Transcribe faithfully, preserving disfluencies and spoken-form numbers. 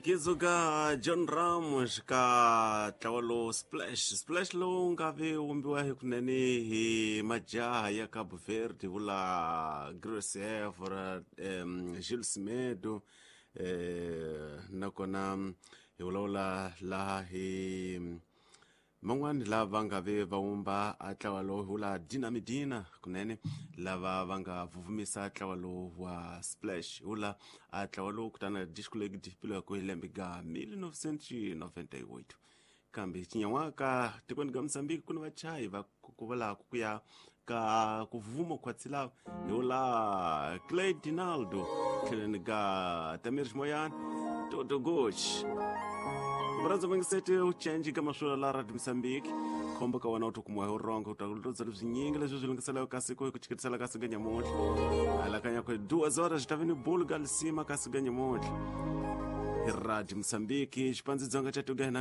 Kizuka John Ramos ka ntlawa lowu Splash Splash lowu nga ve wumbiwa hi kunene hi majaha ya Cabo Verde vula Grace Evora um, Gilles Semedo eh, nakona hi vulavula laha hi man'wani lava nga ve va wumba a ntlawa lowu hi vula Dina Medina kunene lava va nga vuvumisa ntlawa lowu wa Splash hi vula a ntlawa lowu kutana disco leyi dipilo ya ku hi lembe ga mille novecentos noventa e oito kambe cinyan'waka tikweni ka Mozambique ku ni vachayi va ku vulaka ku ya ka ku vuma khwatsi lava hi vula Clay Dinaldo tlheleni ka Tamir Ximoyana Toto Goch Murandza vangisete u change ka maswula la Radio Mozambique khombo ka wena u tokumiwa hi urongo u ta lutodza leswinyingi leswi swi lunghiselaka ka siku hi ku chiketisela ka siku nyamuntlha alakanya ku duas horas ta vi ni bulu ka lisima ka siku nyamuntlha hi Radio Mozambique xipandzi dzonga xa tuga hina.